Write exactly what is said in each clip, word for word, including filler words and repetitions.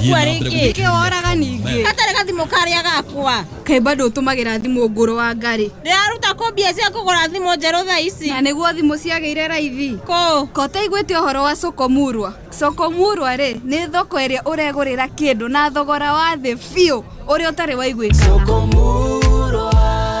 Ndũgũkua rĩngĩ. Nĩkĩ woraga ningĩ? Gatarĩ gathimũ karĩa gakwa. Kaĩ bado ũtũmagĩra thimũ ngũrũ wa ngarĩ. Ndĩraruta kũ mbia cia kũgũra thimũ njerũ thaa ici? Na nĩguo thimũ ciagĩire raithi. Kũ? Ko ũtaiguĩte ũhoro wa Soko Murwa? Soko Murwa rĩ, nĩ thoko ĩrĩa ũregũrĩra kĩndũ na thogora wa thĩ biũ ũrĩa ũtarĩ waiguĩkana. Soko Murwa,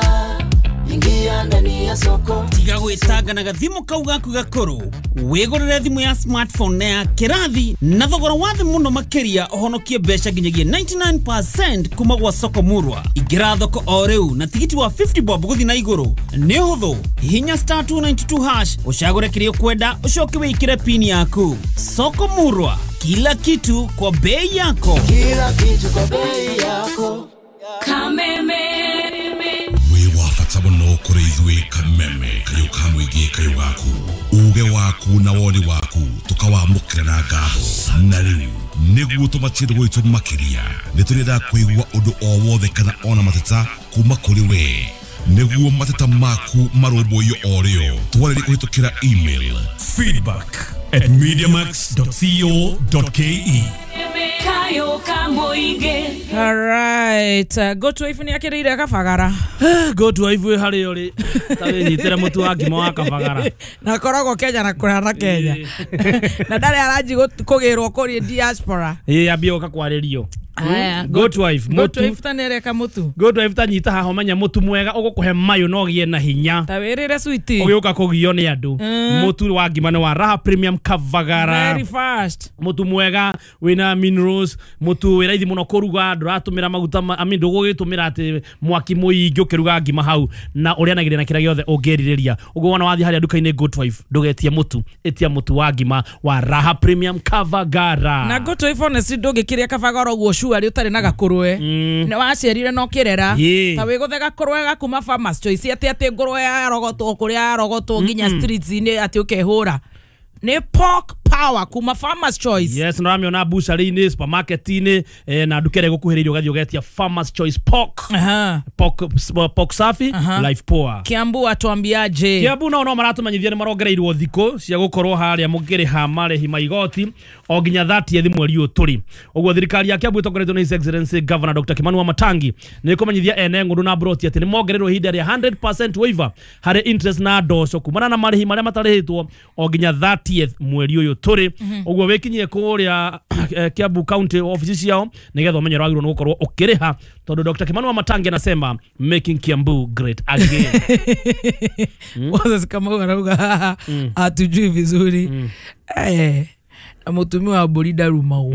ingia ndani ya soko. Tiga gwĩtanga na gathimũ kau gaku gakũrũ. Wĩgũrĩre thimũ ya smartphone na ya kĩrathi na thogora wa thĩ mũno makĩria ũhonokie mbeca nginyagia ninety-nine percent kuma gwa Soko Murwa. Ingĩra thoko o rĩu na tigiti wa fifty bob gũthiĩ na igũrũ. Nĩ ũhũthũ. Hihinya star two ninety-two hash ũcagũre kĩrĩa ũkwenda ũcoke wĩkĩre pin yaku. Soko Murwa, kila kitu kwa bei yako. Kila kitu kwa bei yako. Kameme. Wĩ wa bata mũno kũrĩ ithuĩ Kameme, kayũ ka mũingĩ, kayũ gaku. Uge waku na woni waku tũkawamũkĩra na ngatho. Na rĩu nĩguo tũmatie gwitũ makĩria, nĩ tũrenda kũigua ũndũ o wothe kana ona mateta kuma kũrĩ we. Nĩguo mateta maku marũmbũiyo o rĩo, twarĩrie kũhĩtũkĩra email feedback at mediamax dot co dot ke. All right, uh, go to ifu ni akirire kabagara. Go to ifu hari ori. Tari nyitira mutu wa ngima wa kabagara. Na koragwo Kenya na kura na Kenya. Na ndari aranji kugirwo kuri diaspora. Ĩ ambie oka kwaririo. Aya, go to wife, go to wife tanereka mutu. Go to wife tanyita haha menya mutu mwega ugukuhe mayo no gie na hinya. Ta wirire sweetie. Ugiuka kugio ni andu. Mutu wa ngima ni wa Raha Premium Kavagara. Very fast. Mutu mwega wina minerals, mutu wi raithi muno kuruga, nduratumira maguta, I mean ndugugitumira ati mwaki muingi ukiruga ngima hau na urianagiria na kira giothe ungiririria. Uguo wona wathi haria nduka-ini Go to wife ndugetie mutu, etia mutu wa ngima wa Raha Premium Kavagara. Na Go to wife honestly ndungikiria Kavagara uguo ari utari na gakurwe ne wacerire no kirera ta wiguthe gakurwe gakuma Farmers Choice ati ati ngurwe ya rogotwo kuria ya rogotwo nginya streets ini ati ukehura ni pork power kuma Farmers Choice. Yes, no ramiona bushari-ini, supermarket-ini, eh, na nduka ĩrĩa ĩgũkuhĩrĩirie ũgathiĩ ũgetia Farmers Choice pork. Aha. Pork, pork safi, life poor. Kiambu atuambiaje? Kiambu nao no maratumenyithia nĩ marongereirwo thikũ cia gũkorwo harĩa mũkĩrĩha marĩhi ma igoti o nginya thirtieth mweri ũyũ tũrĩ. Ũguo thirikari ya Kiambu ĩtongoretio nĩ His Excellency Governor Doctor Kimani Wamatangi nĩ ĩkũmenyithia ene ng'ũndũ na broti atĩ nĩ mongereirwo ihinda rĩa hundred percent waiver harĩ interest na ndoco kumana na marĩhi marĩa matarĩhĩtwo o nginya thirtieth mweri ũyũ tũrĩ. Ũguo wĩkinyie kũrĩa Kiambu County office ciao nĩgetha ũmenye ũrĩa wagĩrĩirwo nĩ gũkorwo ũkĩrĩha tondũ Doctor Kimani Wamatangi anasema making Kiambu great again. Moses Kamau arauga hatujui vizuri. Eh, na mũtumia wa mbũri ndarumagwo.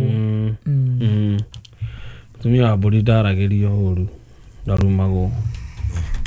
Mũtumia wa mbũri ndaragĩrio ũru, ndarumagwo.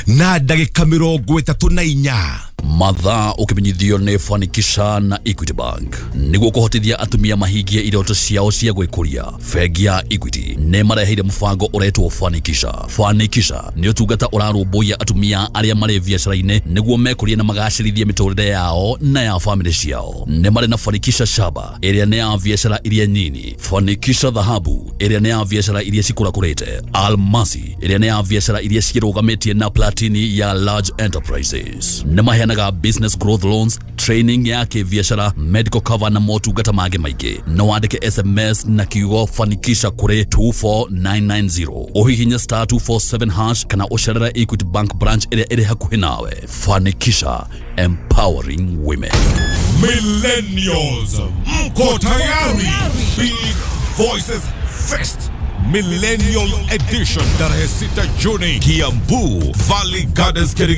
Na ndagĩka mĩrongo ĩtatũ na inya. Mathaa ukimenyithio nĩ Fanikisha na Equity Bank nĩguo kũhotithia atumia mahingie iroto ciao cia gwĩkũria. Bengi ya Equity nĩ mareheire mũbango ũretwo Fanikisha. Fanikisha nĩ ũtungata ũrarũmbũiya atumia arĩa marĩ biacara-inĩ nĩguo mekũrie na magacĩrithie mĩtũrĩre yao na ya famĩlĩ ciao. Nĩ marĩ na Fanikisha Shaba ĩrĩa nĩ ya biacara iria nini, Fanikisha Dhahabu ĩrĩa nĩ ya biacara iria cikũrakũrĩte, Almasi ĩrĩa nĩ ya biacara iria cirũgamĩtie na Platini ya large enterprises. Nĩ maheanaga business growth loans, training ya kĩbiacara, medical cover na motungata mangĩ maingĩ. No wandĩke S M S na kiugo Fanikisha kũrĩ two four nine nine zero. Ũhihinye star two four seven hash kana ũcerere Equity Bank branch ĩrĩa ĩrĩ hakuhĩ nawe. Fanikisha, empowering women. Millennials, mko tayari? Big Voices Fest Millennial Edition tarehe sita Juni, Kiambu Valley Gardens, Kirigiti.